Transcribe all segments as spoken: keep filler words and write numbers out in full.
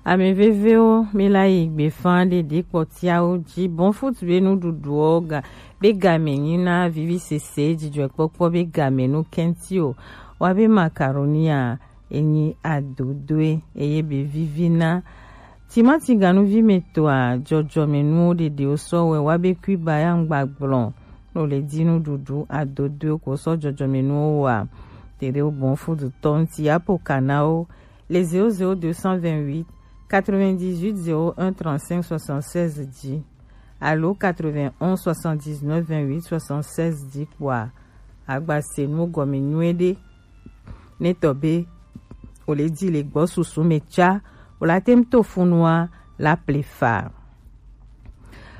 Ame vevewo, mi la yi gbefa ɖe ɖe kpɔtiawo ji. Bon foot be nuɖuɖuwo ga be game nyi na vivisese, dzidzɔkpɔkpɔ be game nu kɛnti o. Wa be macaroni a, enyi adodoe eye be vivi na. Timati ganuvi me tɔa, jɔjɔme nuwo ɖeɖewo sɔ wɛ wa be kui ba ya ŋgba gblɔ. No le di nuɖuɖu adodoe ko sɔ jɔjɔme nuwo wa. Tere bon foot tɔ ŋti apo kanawo. Les zéro zéro deux cent vingt-huit quatre-vingt-dix-huit zéro un trente-cinq soixante-seize dix alo quatre-vingt-onze soixante-dix-neuf vingt-huit soixante-seize dix kpɔa, agba se nu gɔme nyuie ɖe. Ne tɔ be o le di le gbɔ susu me tsa, o la tem to funua la plefa.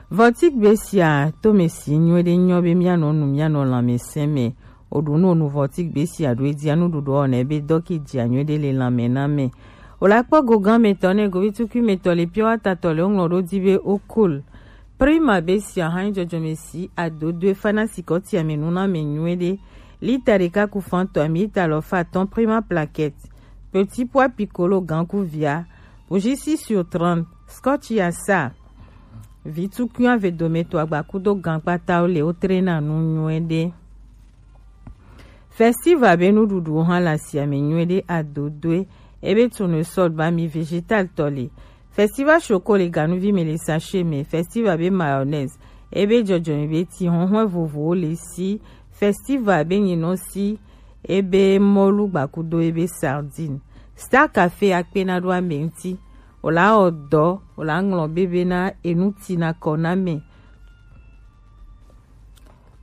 Vɔtik be sia to me si nyuie ɖe nyɔ be mianɔ nu mianɔ lãmesẽ me. Oɖu nu onu vɔti gbesi aɖo edzia nuɖuɖu ɔnɛ be dɔki dzia nyuie ɖe le lãme na me. O la kpɔ gogan me tɔ ne govi tukui me tɔ le piɔ atatɔ le ŋlɔ ɖo di be okol. Prima be sia hã jɔjɔme si adodoe fana sikɔtia me nu na me nyuie ɖe. Lita ɖeka ku fan tɔ ami ta lɔ fa tɔn prima plaquette. Petit pois piccolo gan ku via. Bougie six sur trente. Scotch ya sa. Vi tukui ave dome to agba kudo gan kpata o le o trena nu nyuie ɖe. Festival be nuɖuɖuwo hã le asiame nyuie ɖe adodoe. Ebe tournesol ba mi vegetal tɔ le. Festival choco le ganuvi me le sachet me. Festival be mayonnaise. Ebe jɔjɔme be ti hɔnhɔn vovowo le si. Festival be nyinɔ si. Ebe mɔlu gbakudo ebe sardine. Star Café akpe na ɖo ame ŋti. O la wɔ dɔ, o la ŋlɔ bebe na enu ti na kɔ na me.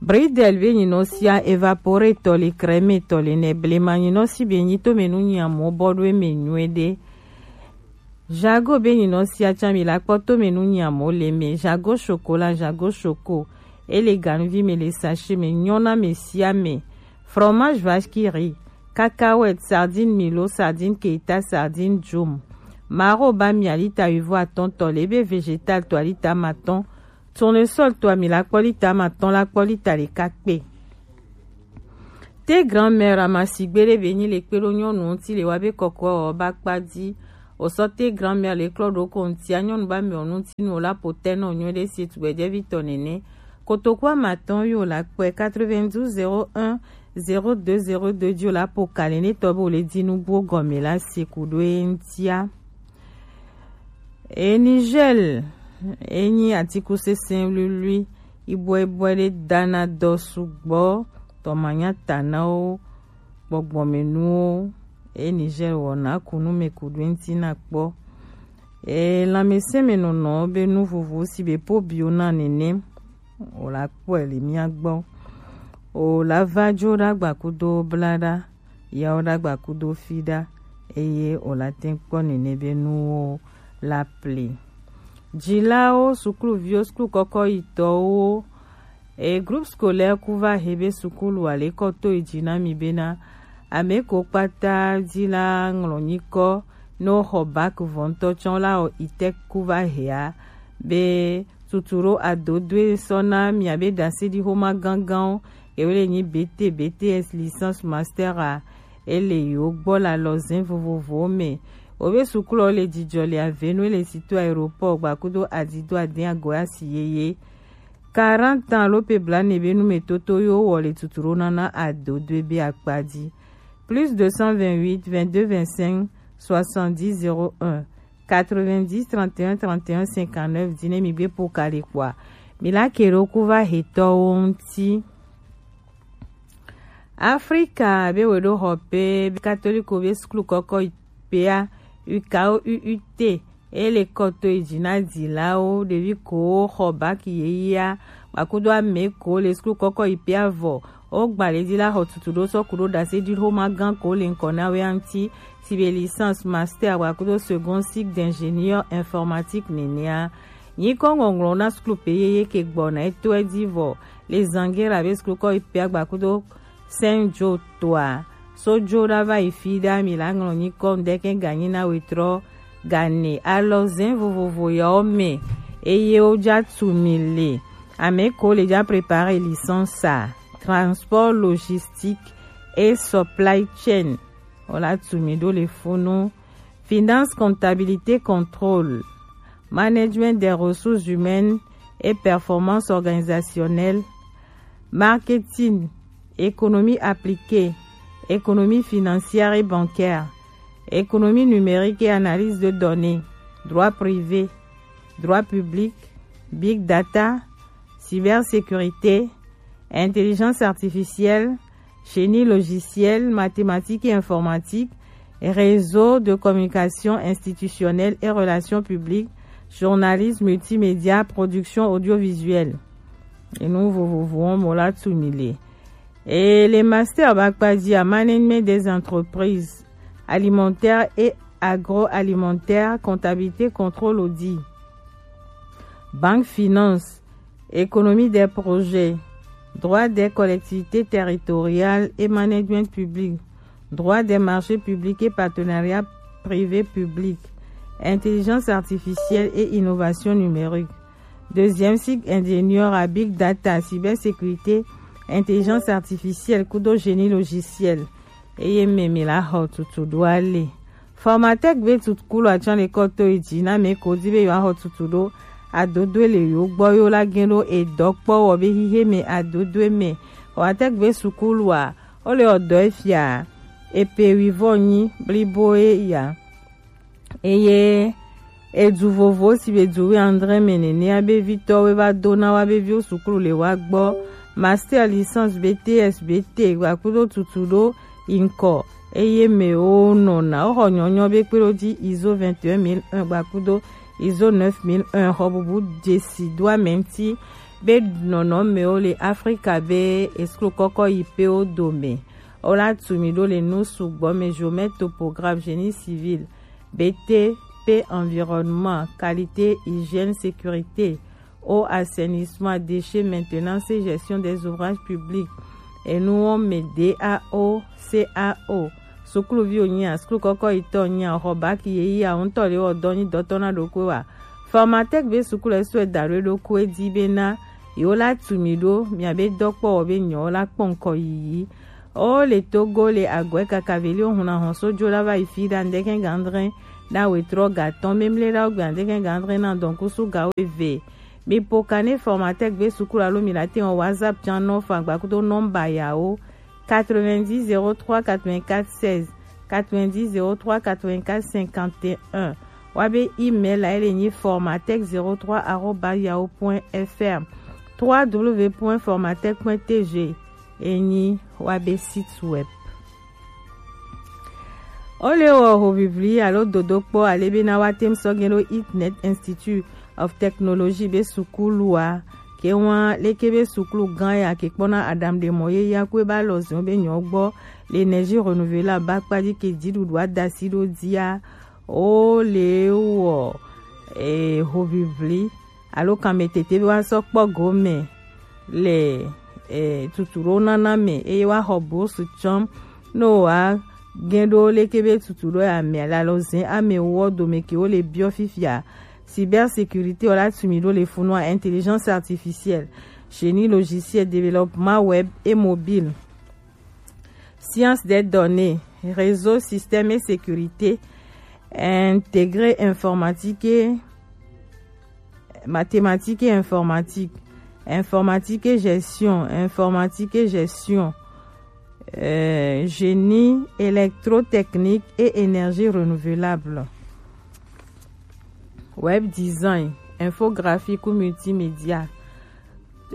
Bridel be nyinɔ sia évaporé tɔ le crème tɔ le nɛ blema nyinɔ si be nyi to me nu nyi amo bɔ ɖo eme nyuie ɖe. Jago be nyinɔ sia tsa mi la kpɔ to me nu nyi amo le me. Jago chocolat, jago choco. E le ganuvi me le sachet me nyɔ na me sia me. Fromage vache qui rit. Cacahuète, sardine milo, sardine keita, sardine djum. Maro ba mi alita wivo atɔn tɔ le be vegetal to alita matɔn. Tournesol to ami la kpɔ lita ma tɔn la kpɔ lita ɖeka kpe. Te grand-mère amasigbe ɖe be nyi le kpe ɖo nyɔnu ŋti le wa be kɔkɔ ɔ ba kpa di. O sɔ te grand-mère le klɔ ɖo ko ŋtia nyɔnu ba mi ɔ ŋti nu o la po tɛ nɔ nyuie ɖe si tugbɛjɛvi tɔ nene. Kotoku amatɔn yo la kpɛ quatre-vingt-douze zéro un zéro deux zéro deux di o la po kali ne tɔ be o le di nugbo gɔme la si ku ɖo e ŋtia. E Niger, e nyi atikusese luilui, ibɔibɔi ɖe dana dɔ sugbɔ, tɔmanya tanawo, gbɔgbɔmenuwo, e Niger wɔna kunu me ku ɖo eŋti na kpɔ. E lãmesẽ me nɔnɔ be nu vovo si be po bio na nene, o la kpɔe le mia gbɔ. O la va dzo ɖagba kudo blaɖa. Yawo ɖagba kudo fi ɖa, eye o la tɛn kpɔ nene be nuwo la pli. Dzilawo, sukluviwo, suklu kɔkɔ yitɔwo, e groupe scolaire ku va he be sukulu ale kɔ to yi dzi na mi bena ame ko kpata dzi la ŋlɔ nyikɔ ne woxɔ bac vɔ ŋutɔ tsɔ la wɔ itɛk ku va hea be tutu ɖo adodoe sɔ na miabe ɖaseɖixoma gãgãwo. Yewo le nyi B T, B T S, licence, master a, ele yewo gbɔ le alɔzɛn vovovowo me. Wobe sukulɔ le dzidzɔ le avenu le sito aéroport gbakudo adido adin agoya si yeye. Quarante ans alo pe blane be numetoto yo wɔ le tutu ɖo nana adodoe be akpa dzi. Plus deux cent vingt-huit vingt-deux vingt-cinq soixante-dix zéro un. Quatre-vingt-dix trente et un trente et un cinquante-neuf dzi ne mi gbe po kali kpɔa, mi la ke ɖo ku va hetɔwo ŋuti. Afrika be we ɖo xɔ pe be katoliko be suklu kɔkɔ pea, U K O U U T, e le kɔ to yi dzi na dzilawo, ɖevi kowo xɔ baki yeyea, gbakudo ame ko le suklu kɔkɔ yi pea vɔ. Wo gba le dzi la xɔ tutu ɖo sɔ ku ɖo ɖase ɖi xoma gã ko le ŋkɔ na wea ŋuti, si be licence, master, gbakudo second cycle d'ingénieur informatique nenea. Nyikɔ ŋɔŋlɔ na suklu pe yeye ke gbɔna eto edzi vɔ le zangera be suklu kɔ yi pea gbakudo Saint Joe toa. So dzo ɖa va yi fi ɖa mi la ŋlɔ nyikɔ ŋdɛkɛ ganyi na wetrɔ gane alɔzɛn vovovo yawo me eye wo dza tu mi le. Ame ko le dza préparer licence a, transport logistique et supply chain. Wo la tu mi ɖo le funu. Finance, comptabilité, contrôle, management des ressources humaines et performance organisationnelle, marketing, économie appliquée, économie financière et bancaire, économie numérique et analyse de données, droit privé, droit public, big data, cybersécurité, intelligence artificielle, génie logiciel, mathématiques et informatique, réseau de communication institutionnelle et relations publiques, journalisme multimédia, production audiovisuelle. Et nous, vous, vous, vous, on mola tsumile. Et les masters bakpadia, management des entreprises alimentaires et agroalimentaires, comptabilité, contrôle, audit, banque, finance, économie des projets, droit des collectivités territoriales et management public, droit des marchés publics et partenariat privé-public, intelligence artificielle et innovation numérique. Deuxième cycle, ingénieur à big data, cybersécurité, intelligence artificielle, kudo génie logiciel. Eye meme la xɔ tutu ɖo ale. Formatec be tutu kulo atsan le kɔto yi dzi na me ko di be yewoaxɔ tutu ɖo adodoe le yewo gbɔ, yewo la gɛn ɖo edɔ kpɔ wɔ be xixe me adodoe me. Formatec be sukulua, wo le ɔdɔ efia epe wivɔ nyi blibo e ya. Eye edu vovo si be du wi andre me nene abe vitɔwo va do na wa be viwo sukulu le wa gbɔ. Master, licence, B T S, B T gbakudo tutu ɖo inkɔ. Eye me wo nɔna wo xɔ nyɔnyɔ be kpe ɖo dzi izo vingt et un mille un gbakudo izo neuf mille un xɔ bubu dzesi do ame ŋuti be nɔnɔmewo le Afrika be esukulu kɔkɔ yi pe wo dome. Wo la tu mi ɖo le nu sugbɔ me, géomètre, topographe, génie civil, B T P, environnement, qualité, hygiène, sécurité, eau, assainissement, déchets, maintenance et gestion des ouvrages publics. Enu wo me D A O, C A O. Sukuluviwo nyia, sukulu kɔkɔ yi tɔ nyia, xɔ bac ye yi a ŋutɔ le wɔ dɔ nyi dɔtɔ na ɖokui wa. Formatec be sukulu esu eda ɖo eɖokui edi be na yewo la tu mi ɖo mia be dɔkpɔwɔ be nyɔwo la kpɔ ŋkɔ yiyi. O le Togo le agɔe kaka veli o huna hɔn so jo la va yi fi ɖa ŋdɛkɛn gandrɛn na wetrɔ gatɔn memle ɖa o gbe ŋdɛkɛn gandrɛn na dɔnkusu gawo eve. Mi po kane Formatec be sukulu alo mi la te wɔn WhatsApp can nɔ fa gbakudo nɔmba yawo quatre-vingt-dix zéro trois quatre-vingt-quatre seize, quatre-vingt-dix zéro trois quatre-vingt-quatre cinquante et un. Wa be email la ele nyi formatec zéro trois arobase yahoo point F R, trois W point formatec point T G. Enyi wa be site web. O le wɔ hovivli alo dodokpɔ ale be na wa tem sɔgɛn ɖo Internet Institute of Technology be sukulua. Ke wa leke be sukulu gan ya ke kpɔna adam de mɔ ye ya kue ba lɔ zɔn be nyɔ gbɔ le énergie renouvelable ba kpa di ke dziɖuɖu adasi ɖo dia. O le wɔ e hovivli alo kanmetete be woasɔ kpɔ gome le e, tutu ɖo nana me eye woaxɔ bourse tsɔm ne woagɛn ɖo leke be tutu ɖo ame le alɔzẽ ame wɔ dome ke wole biɔ fifia. Cybersécurité wala tu mi ɖo le funua, intelligence artificielle, génie logiciel, développement web et mobile, science des données, réseau, système et sécurité, intégré informatique et mathématiques et informatique, informatique et gestion, informatique et gestion, euh, génie électrotechnique et énergie renouvelable, web design, infographie ou multimédia.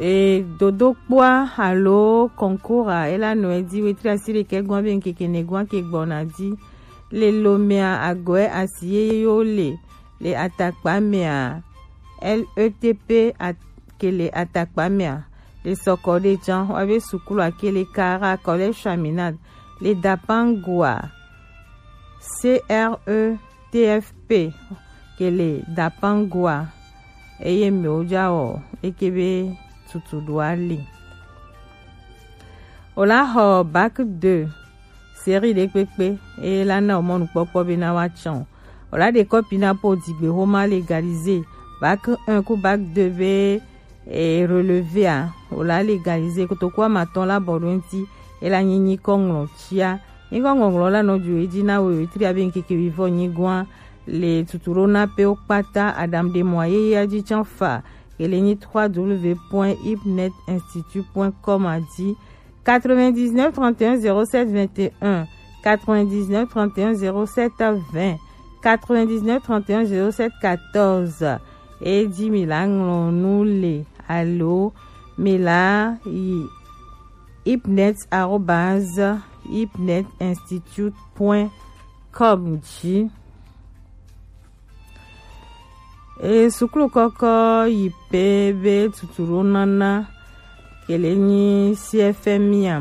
E dodokpoa alo concours a ela nɔ edi wetri asi ɖekɛ gɔn be ŋkeke ne gɔn ke gbɔna di. Le lomea agɔe asi yeye yo le le atakpa mea, L E T P a-, ke le atakpa mea, le sɔkɔ ɖe jan wa be sukulu a ke le kara collège Chaminade, le Dapangua, C R E T F P, ke le Dapangua, eye mewo ja wɔ eke be tutu ɖo ali. O la xɔ bac deux série ɖekpekpe eye la na o mɔnukpɔkpɔ be na wa tsɔn o. O la ɖe kɔpi na po digbe xoma légalisé bac un ku bac deux be e relevé a, o la légalisé kotoku amatɔn la bɔ ɖo ŋuti e la nyi nyikɔ ŋlɔ tia Nyikɔ ŋɔŋlɔ la nɔ ju edzi na we wetri abe ŋkeke wivɔ nyigoa le tutu ɖo na pe wo kpata. Aɖaŋuɖemɔa yeyea dzi tsã fa ke le nyi trois w point ipnet institut point com a dzi. Quatre-vingt-dix-neuf trente et un zéro sept vingt et un, quatre-vingt-dix-neuf trente et un zéro sept vingt, quatre-vingt-dix-neuf trente et un zéro sept quatorze. Edi mi la ŋlɔ nu le alo mi la yi ipnet arobase ipnet institut point com dzi. E suklu kɔkɔ yi pe be tutu ɖo nana ke le nyi C F M I a.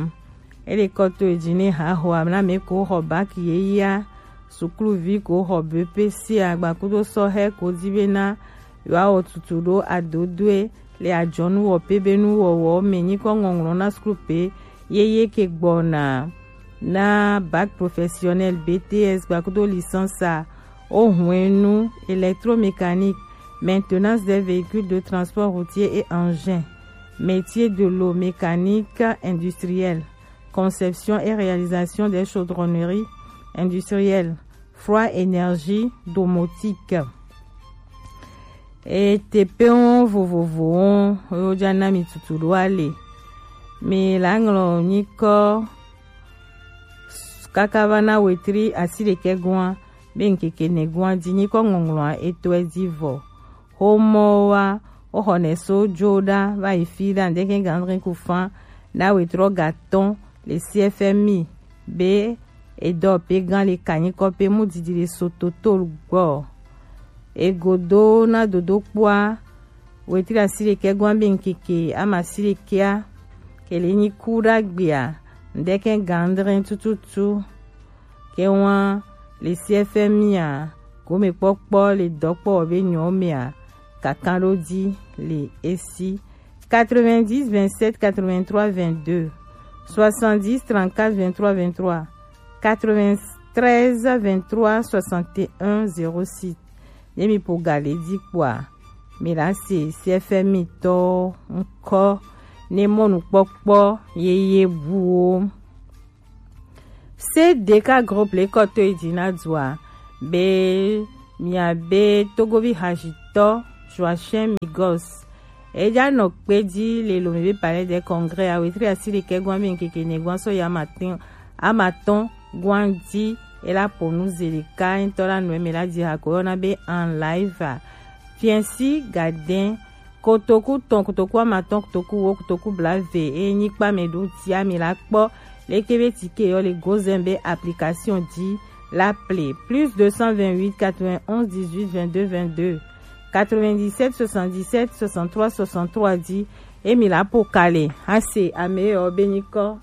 Ele kɔ to edzi ne ha xɔ amla me ko xɔ bac yeyea, sukluvi ko xɔ B P C a gbakudo sɔhɛ ko di be na yewoawɔ tutu ɖo adodoe le ajɔnuwɔpe be nuwɔwɔ me nyikɔ ŋɔŋlɔ na suklu pe yeye ke gbɔna na bac professionnel, B T S gbakudo licence a, o hwenu électromécanique, maintenance des véhicules de transport routier et engins, métier de l'eau, mécanique industrielle, conception et réalisation des chaudronneries industrielles, froid énergie domotique. E teƒewo vovovowo wo dza na mi tutu ɖo ale. Mi la ŋlɔ nyikɔ kaka va na wetri asi ɖekɛ goa be ŋkeke ne goa dzi nyikɔ ŋɔŋlɔa etɔe dzi vɔ. Xomɔwoa, woxɔnɛ so dzo ɖa va yi fi ɖa ŋdeke gandrin ku fan na wetrɔ gatɔn le C F M I be edɔ pe gan le kanyikɔ pe mu didi le so toto gbɔ. Egodo na dodo kpɔa, wetri asi ɖekɛ goa be ŋkeke ama asi ɖekɛa ke le nyi ku ɖa gbea ŋdeke gandrin tututu. Ke wa le C F M I a, gome kpɔkpɔ le dɔkpɔ be nyɔ mea, kaka ɖo di le esi. Quatre-vingt-dix vingt-sept quatre-vingt-trois vingt-deux, soixante-dix trente-quatre vingt-trois vingt-trois, quatre-vingt-treize vingt-trois soixante et un zéro six. Ne mi po ga le di kpɔa, mi la se C F M I tɔ ŋkɔ ne mɔnukpɔkpɔ yeye buwo. C D K groupe le kɔ to yi dzi na dua be mia be Togovi hajitɔ Joachim Migos. Eja nɔ kpe dzi le lome be Palais des Congrès a wetri asi ɖekɛ goa be ŋkeke ne goa sɔ ya ma tɔn ama tɔn goa di ela po nu ze ɖeka ŋtɔ la nu eme la dzi ha ko yɔna be en live a. Fiɛnsi gadɛn kotoku tɔn, kotoku amatɔn, kotoku wo, kotoku blave eye nyikpa mɛ ɖo tia mi la kpɔ leke be tike yɔ le gozɛn be application di la ple plus deux cent vingt-huit quatre-vingt-onze dix-huit vingt-deux vingt-deux, quatre-vingt-dix-sept soixante-dix-sept soixante-trois soixante-trois di emi la po kale hase ame yɔ be nyikɔ